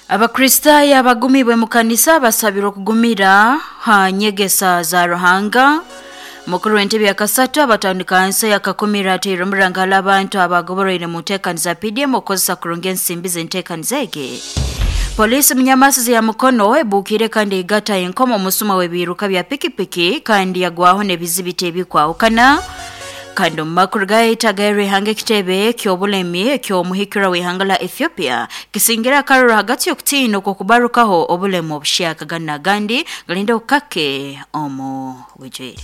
Abakristaayo abagumibwe mu kanisa basabirwa okugumira ha nyegesa za Ruhanga. Mukuru w'entebe ya kasatu abatandika nsi yakakumira ateire omuranga hali abantu abagoboroire mu nteekaniza PDM okukozesa kurungi ensimbi z'enteekaniza egi. Polisi munyamasizi ya Mukono ebuukire kandi eigata enkomo omusuma w'ebiiruka bya pikipiki kandi yagwaho n'ebizibiti ebikwahukana. Kandi omu makuru gaitu ag'erihanga, ekitebe ky'obulemi eky'omuhikirwa w'ihanga la Ethiopia kisingire akaruru hagati y'okutiina okw'okubarukaho obulemu obuhyaka. Ganu n'agandi galinde okukake omu bwijwire.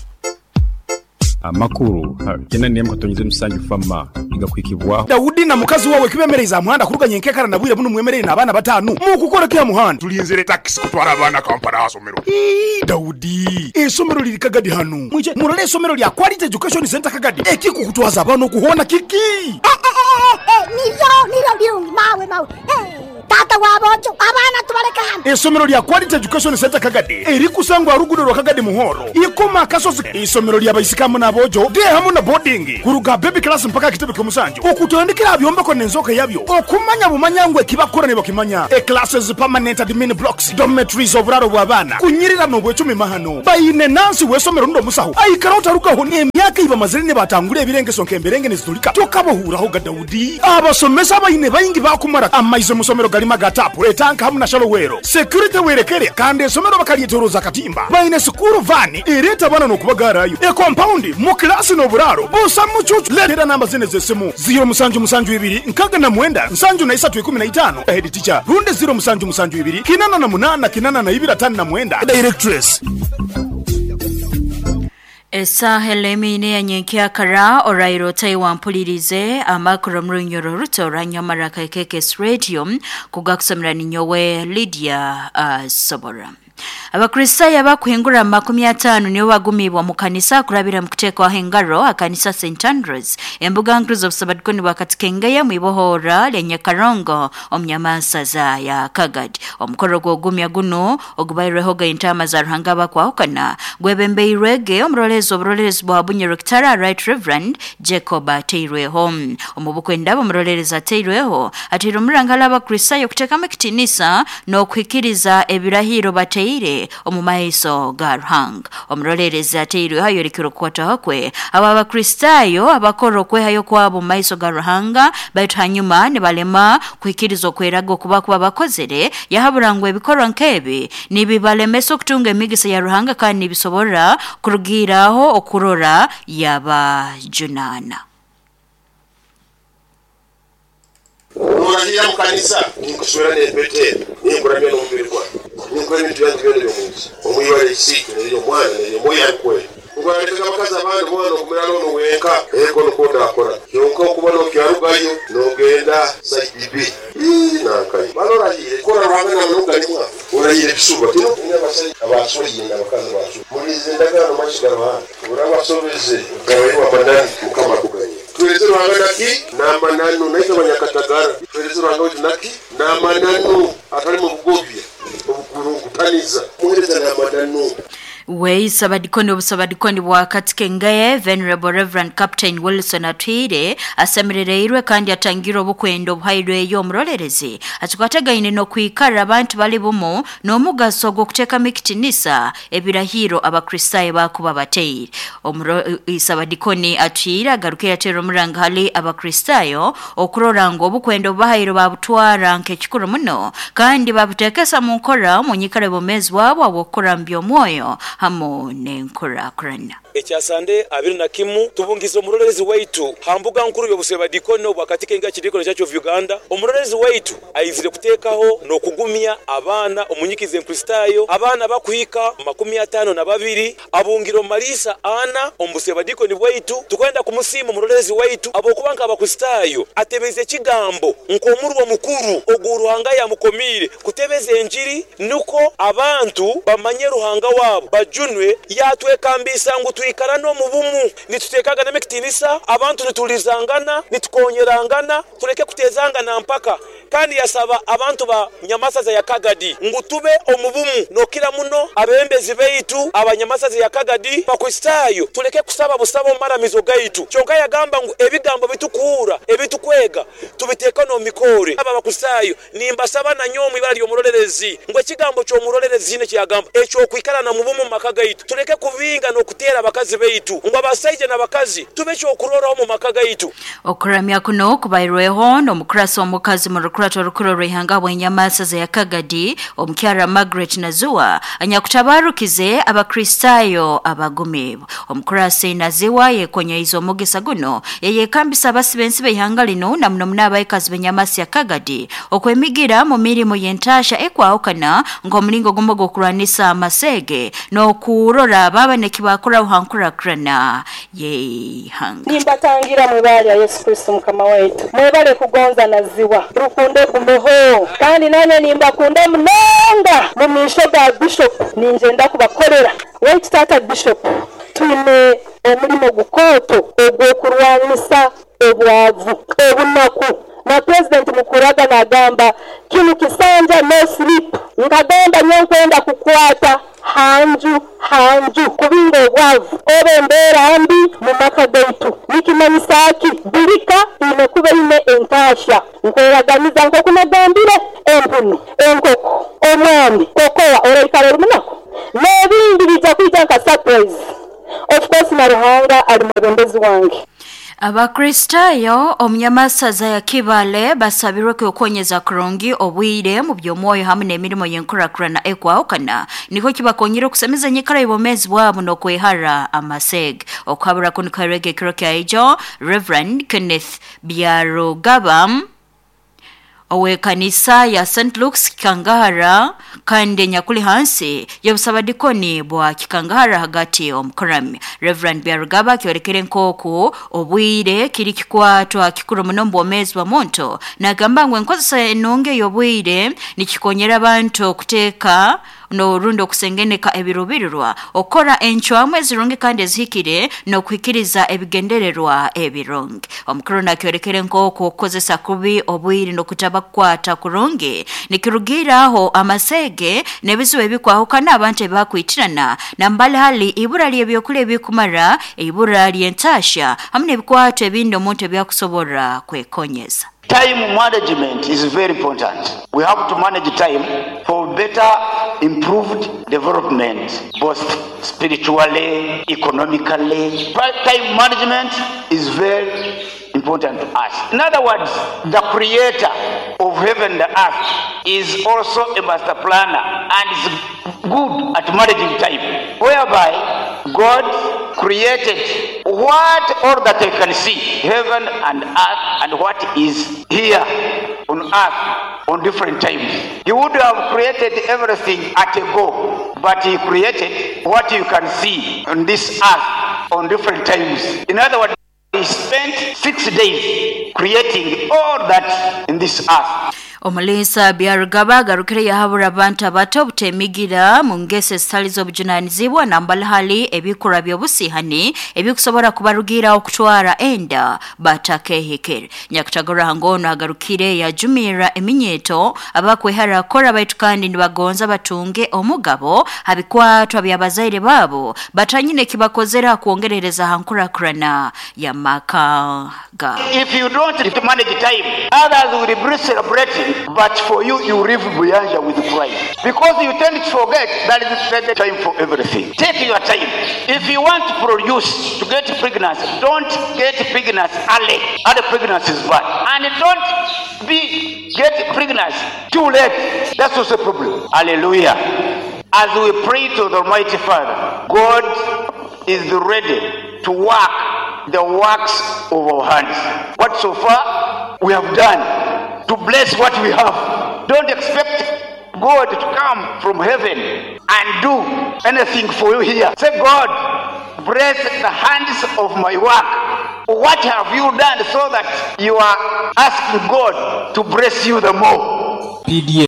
Amakuru ha 81.7 FAMA nigakuhikibwaho. Daudi na mukazi wawe kibemereize aha muhanda kuruga nyenkekara na bwire bunu mwemereire n'abaana batanu. Mukukora ki aha muhanda? Tulinzire takisi kutwara abaana Kampala aha somero. Ii, Daudi, eisomero liri Kagadi hanu. Mwije murole eisomero lya Quality Education Centre Kagadi. Ekikukutwaza abaana oku hoona kiki? Niryo, niryo birungi, mawe, mawe. Taata w'aboojo, abaana tubaleke hanu. Eisomero lya Quality Education Centre Kagadi erikusangwa aha ruguudo rwa Kagadi Muhoro, Ikoma Akasozi. Eisomero lya baisiki hamu n'aboojo, day hamu na boarding, kuruga aha baby class mpaka aha kitebe ky'omusanju, okutandikira aha byombeko n'enzooka yabyo, okumanya bumanya ngu eki bakukora nibakimanya. E Classes, permanent admin blocks, dormitories, oburaaro bw'abaana, kunyirira n'obwecumi mahano. Baine nansi w'eisomero rundi omusaho aikara otarugaho n'emyaka ei bamazire nibatangura ebirengeso nk'emberenge nizitulika tokabahuuraho ga Daudi. Abasomesa abaine baingi baakumara amaizi omu somero garimu aga taapu, etanka hamu na shalowero. Security werekere kandi esomero bakaryetoroza akatimba. Baine sikuuru vaani ereeta abaana n'okubagaarayo. Ekompaundi, mu kilaasi n'oburaaro busa mucuucu. Leetera namba zinu ez'esimu, ziiro musanju musanju ibiri nkaaga na mwenda nsanju na isatu ikumi na itaano, Head teacher, rundi ziiro musanju musanju ibiri kinana na munaana kinana na ibiri ataano na mwenda, Directress. Esaaha elemiine ya nyenkyakara oraire otai wampulirize amakuru omu runyoro ruto orwanyamara ka KKS Radio kugakusomera ninyowe Lydia Sobora. Abakristaayo abakuhingura 50 nibo bagumibwa mu kanisa kurabira mu kuteekwaho engaro akanisa St Andrews embuga nkuru z'obusabadikoni bwa Katikengeya mu ibohora lya Nyakarongo omu nyamansaza ya Kagadi. Omukoro gw'ogumya guno ogubairweho ga entaama za Ruhanga abakwahukana gwebembeirwege omuroleezi oburoleerezi bwa Bunyoro Kitara Right Reverend Jacob Ateirweho. Omu bukwenda omuroleerezi Ateirweho ateire omuranga hali Abakristaayo kuteekamu ekitiinisa n'okuhikiriza ebirahiro bateire omu maiso ga Ruhanga. Omuroleerezi ateirweho ayorekire okukwataho kwe abo Abakristaayo abakora okwehayo kwabo omu maiso ga Ruhanga baitu hanyuma nibalema kuhikiriza okweraga okuba kuba bakozere, yahabura ngu ebikorwa nk'ebi nibibalemesa okutunga emigisa ya Ruhanga kandi nibisobora kurugiiraho okurora yabajunaana. Norahira mu kanisa, ninkuswera n'empeta enu, ninkuramya n'omubiri gwange, ninkuha ebintu byange byona eby'omu nsi, omu ibara lya Isiitwe n'ery'Omwana n'ery'Omwoyo Arukwera. Ngu oralekaga abakazi abandi boona n'okumira n'onu wenka? Ego, nukwo ndakora. Kyonka okuba n'okyarugayo n'ogenda side B. Ii, nankayo. Mara orahiire kukora Ruhanga n'amananu gali mwaha. Orahiire ebisuba. Tino abasaija abasweriine n'abakazi abasweriine. Mulinze endagaano omu maiso ga Ruhanga. Obu oraaba wasobeze, otabairwe amananu, Mukama akuganyire. Tuheereze Ruhanga naki? N'amananu. Naitwe abanyakatagara tuheereze Ruhanga waitu naki? N'amananu, atalimu obugobya, obukurungutaniza. Muheereza n'amananu. We Sabadikoni obusabadikoni bwa Katikengeye Venerable Reverend Captain Wilson Atwire asemerereirwe kandi atangire obukwenda obuhairweyo omurolerezi akikwatagaine n'okwikara abantu bali bumu n'omugaso gw'okuteekamu ekitinisa ebirahiro Abakristaayo bakuba bateire. Sabadikoni Atwire agarukire ateera omuranga hali Abakristaayo okurora ngu obukwenda obubahaire babutwara nk'ekikuru muno kandi babuteekesa mu nkora omu nyikara y'obwomeezi bwabo obw'okukura mu by'omwoyo hamu n'enkurakurana. Ekya Sande 21 tubungize omurolerezi waitu ha mbuga nkuru y'obusebadikoni obwa Katikenga Kidikoni Church of Uganda. Omurolerezi waitu aizire kuteekaho n'okugumya abaana omu nyikiza Enkristaayo, abaana bakuhika 52 abungire omu maliisa ana omu busebadikoni bwaitu. Tukwenda kumusiima omurolerezi waitu habwokuba nk'Abakristaayo atebeze ekigambo nk'omurwa omukuru ogu Ruhanga yamukomiire kutebeza enjiri nukwo abantu bamanye Ruhanga wabo bajunwe. Yatwekambisa ngu twikarane omu bumu, nituteekaganamu ekitiinisa, abantu nitulizangana, nitukonyerangana, tuleke kutezangana mpaka. Kandi yasaba abantu ba Nyamasaza ya Kagadi ngu tube omu bumu nokira muno abebembezi baitu aba Nyamasaza ya Kagadi Bakristaayo tuleke kusaba busaba omu maramizo gaitu. Kyonka yagamba ngu ebigambo bitukuhurra, ebitukwega tubiteeke n'omu mikoore. Aba Bakristaayo nimbasaba nanyowe omu ibara ly'omurolerezi ngu ekigambo ky'omurolerezi hine kyeyagamba eky'okwikarana mu bumu mu maka gaitu tuleke kubinga n'okuteera abakazi baitu ngu abasaija n'abakazi tube ekyokurorraho mu maka gaitu. Okuramya kuno kubairweho n'omukurasi omukazi mu rukurato orukuru orw'ihanga bw'enyamasaza ya Kagadi omukyara Margaret Naziwa anyakutabarukize Abakristaayo abagumiibwe. Omukurasi Naziwa yekonyeize omugisa guno yayekambisa abasi b'ensi b'ihanga linu na muno muno abaikazi b'enyamasi ya Kagadi okwemigira mu mirimo y'entasha ekwahukana nk'omulingo gumu gw'okurwanisa amasege n'okurora baba nekibakoraho ha nkurakurana y'ihanga. Nimbatangira mwibara lya Yesu Kristo Mukama waitu. Mwebale kugonza Naziwa. Rukundo egumeho. Kandi nanye nimbakunda munonga mu maisho ga Bishop ningyenda kubakorera. Waitu taata Bishop, twine omurimo gukooto ogw'okurwanisa obwavu, obunaku. Na President Mukuraga nagamba kinu kisanja no sleep. Nkagamba nyowe nkwenda kukwata hanju hanju kubinga obwavu oba embeera mbi mu maka gaitu. Nikimanyisa ki? Birika ine kuba ine entasha. Nkweraganiza nk'oku nagambire, empunu, enkoko, omwami, kokoa oraikara ori munaku n'ebindi bijja kwija nka surprise. Of course na Ruhanga ali mwebembezi wange. Abakristaayo omunyamasaza ya Kibale basabirwe kwekonyeza kurungi obwire mu by'omwoyo hamwe n'emirimo y'enkurakurana ekwahukana niko kibakonyera okusemeza enyikara y'obwomeezi bwabo n'okwehara amasege. Okuhabura kunu karege ekiro kya ijo Reverend Kenneth Byarugaba owekanisa ya St. Luke's Kikangahara kandi nyakuli hansi y'obusabadikoni bwa Kikangahara hagati omukurami. Reverend Byarugaba kyorekere nk'oku obwire kiri kikwatwa kikuru muno mu bwomeezi bwa muntu. Nagamba ngu enkozesa enungi ey'obwire nikikonyera abantu okuteeka n'orundi okusengeneka ebirubirirwa, okukora encwamu ezirungi kandi ezihikire n'okuhikiriza ebigendererwa ebirungi. Omukuru nakyorekere nk'oku okukozesa kubi obwire n'okutaba kukwata kurungi nikirugiiraho amasege n'ebizibu ebikwahukana abantu ebakwitirana nambali hali ibura ly'ebyokulya ebikumara, ibura ly'entasha hamu n'ebikwato ebindi omuntu ebyakusobora kwekonyeza. Time management is very important. We have to manage time for better improved development, both spiritually, economically. Time management is very important to us. In other words, the creator of heaven and the earth is also a master planner and is good at managing time, whereby God created what all that I can see, heaven and earth, and what is here on earth on different times. He would have created everything at a go, but he created what you can see on this earth on different times. In other words, he spent 6 days creating all that in this earth. Omulisa Byarugaba agarukire yahabura abantu abato obutemigira mu ngeso ezitali z'obujunanizibwa nambali hali ebikorwa by'obusihani ebikusobora kubarugira okutwara enda batakehekere. Nyakutagora hangono agarukire yajumira eminyeto abakwehara kora baitu kandi nibagonza batunge omugabo habikwatwa by'abazaire babo batanyine kibakozera kuongerereza hankurakurana ya maka ga. If you don't manage time, others will be celebrating, but for you, you live beyond with Christ. Because you tend to forget that is the time for everything. Take your time. If you want to produce, to get pregnant, don't get pregnant early. Early pregnancy is bad. And don't be get pregnant too late. That's also a problem. Hallelujah. As we pray to the Almighty Father, God is ready to work the works of our hands. What so far we have done to bless what we have. Don't expect God to come from heaven and do anything for you here. Say, God, bless the hands of my work. What have you done so that you are asking God to bless you the more? PDA.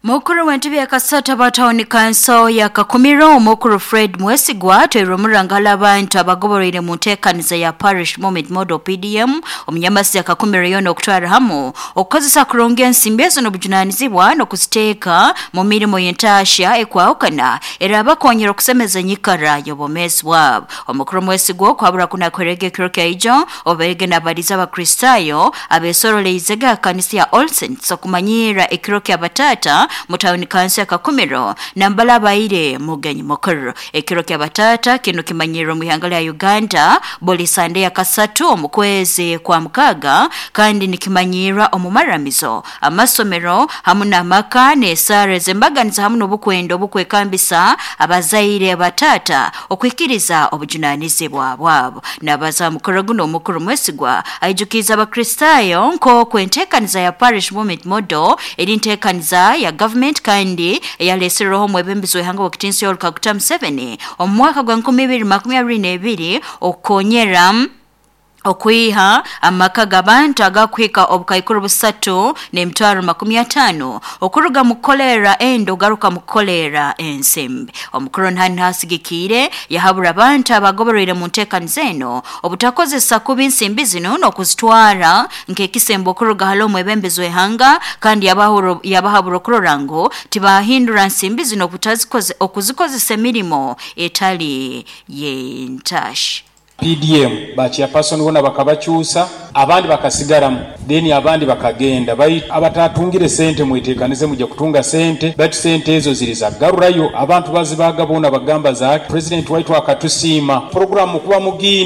Mukuru w'entebe ya Kasata batawuni kanso ya Kakumiro omukuru Fred Mwesigwa atweirwe omurangala abantu abagoboroire mu nteekaniza ya Parish Moment Model PDM omunyamasi ya Kakumiro yoona okutwara hamu okukozesa kurungi ensimbi ezo n'obujunanizibwa n'okuziteeka mu mirimo y'entaasya ekwahukana era abakonyera okusemeza enyikara y'obwomeezi bwabo. Omukuru Mwesigwa okwabura kunakwerega ekiro kyaijo oberege n'abaliza abakristaayo abeesoroleizege aha kanisa ya All Saints okumanyirra ekiro ky'abataata mu tawuni kanso ya Kakumiro nambala abaire mugenyi mukuru. Ekiro ky'abataata kinu kimanyirwa omu ihanga lya Uganda buli Sande ya kasatu omu kwezi kwa mukaaga kandi nikimanyirwa omu maramizo, amasomero hamu n'amaka n'esaara ez'embaganiza hamu n'obukwenda obukwekambisa abazaire bataata okwikiriza obujunanizibwa bwabo. Nabaza mukuru guno omukuru Mwesigwa aijukiza abakristaayo nk'oku enteekaniza ya Parish Movement Model eri nteekaniza ya gavumenti kandi eyaleeserweho omwebembezi w'ihanga w'ekitinisa Yoweri Kaguta Museveni omu mwaka gwa 2022 okukonyera okwiha amaka g'abantu agakuhika obukaikuru 3,350 okuruga mu kukolera endo garuka mu kukolera ensimbi. Omukuru ntani hasigikiire yahabura abantu abagoboroire mu nteekaniza eno obutakozesa kubi ensimbi zino n'okuzitwara nk'ekisembo okuruga hali omwebembezi w'ihanga kandi yabahabura okurora ngu tibahindura nsimbi zino okuzikozesa emirimo etali y'entaasya. PDM ba chairperson bona bakabakyusa, abandi bakasigaramu, then abandi bakagenda. Baitu abatatungire sente mwetekanize mujja kutunga sente, baitu sente ezo ziri za kugarurayo abantu bazibaga bona bagamba zaki president waitu akatusiima program kuba mugiina.